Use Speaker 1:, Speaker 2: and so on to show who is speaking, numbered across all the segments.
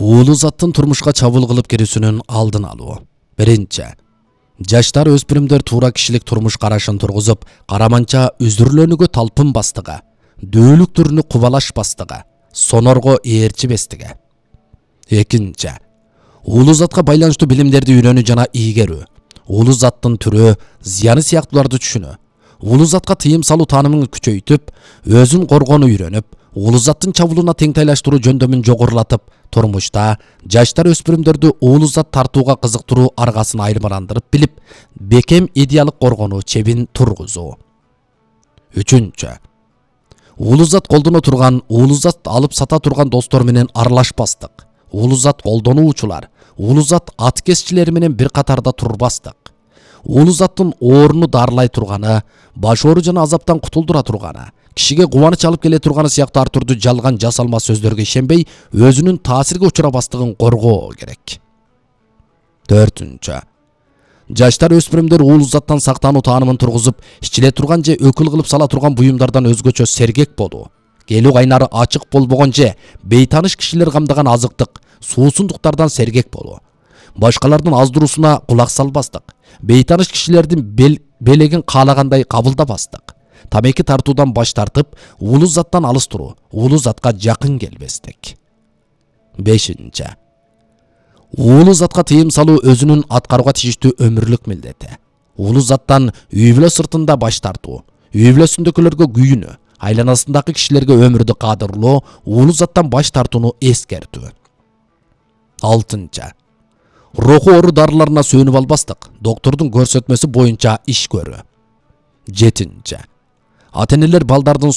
Speaker 1: уулу заттын турмушка чабуул кылып кирүүсүнүн алдын алуу. Биринчи, жаштар өспүрүмдөр туура кишилик турмуш карашын тургузуп, караманча үзүрлөнүүгө талпынбастыгы, дөөлүк түрүнү кубалашпастыгы, сонорго ээрчибестиги. Экинчи, уулу затка байланыштуу билимдерди үйрөнүү жана ийгерүү, уулу заттын түрү, зыяны сыяктууларды түшүнүү, уулу затка тыйым салуу таанымын күчөйтүп, өзүн коргонуу үйрөнүп, уулу заттын чабуулуна теңтайлаштыруу жөндөмүн жогорулатып, турмушта жаштар өспүрүмдөрдү уулу зат тартууга кызыктыруу аргасын айырмаландырып билип, бекем идеалык коргонуу чебин тургузуу. Үчүнчү, уулу зат колдоно турган, уулу зат алып сата турган достор менен аралашпастык, уулу зат колдонуучулар, уулу зат аткезчилери менен бир катарда турбастык, уулу заттын ооруну дарылай турганы, баш оору жана азаптан кутулдура турганы, кишиге кубаныч алып келе турганы сыяктуу ар түрдүү жалган жасалма сөздөргө ишенбей, өзүнүн таасирге учурабастыгын коргоо керек. Төртүнчү, жаштар өспүрүмдөр уулу заттан сактануу таанымын тургузуп, ичиле турган же өкүл кылып сала турган буюмдардан өзгөчө сергек болуу, келүү кайнары ачык болбогон же бейтаныш кишилер камдаган азыктык, суусундуктардан сергек болуу, башкалардын аздыруусуна кулак салбастык, бейтаныш кишилердин белегин каалагандай кабылдабастык, тамеки тартуудан баш тартып, уулу заттан алыс туруу, уулу затка жакын келбестик. Бешинчи, уулу затка тыйым салуу өзүнүн аткарууга тийиштүү өмүрлүк милдети. Уулу заттан үй бүлө сыртында баш тартуу, үй бүлөсүндөгүлөргө күйүнүү, айланасындагы кишилерге өмүрдү кадырлоо, уулу заттан баш тартууну эскертүү. Алтынчы, руху оору дарыларына сүйөнүп албастык, доктордун көрсөтмөсү боюнча иш көрүү. Жетинчи, ата-энелер балдардын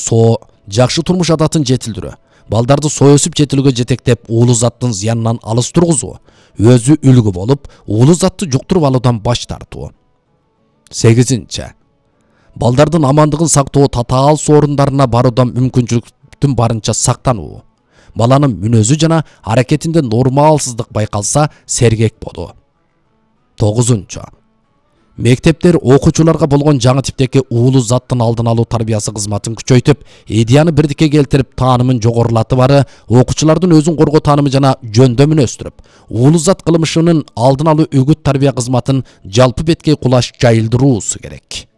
Speaker 1: жакшы турмуш адатын жетилдирүү, балдарды өсүп жетилүүгө жетектеп, уулу заттын зыянынан алыс тургузуу, өзү үлгү болуп, уулу затты жуктуруп алуудан баш тартуу. Сегизинчи, балдардын амандыгын сактоо, татаал орундарына баруудан мүмкүнчүлүктүн барынча сактануу, баланын мүнөзү жана аракетинде нормалсыздык байкалса, сергек болуу. Тогузунчу, мектептер окуучуларга болгон жаңы типтеги уулу заттын алдын алуу тарбиясы кызматын күчөйтүп, идеяны бирдикке келтирип, таанымын жогорулатып бары, окуучулардын өзүн коргоо таанымы жана жөндөмүн өстүрүп, уулу зат кылмышынын алдын алуу үгүт тарбия кызматын жалпы беткей кулаш жайылдыруусу керек.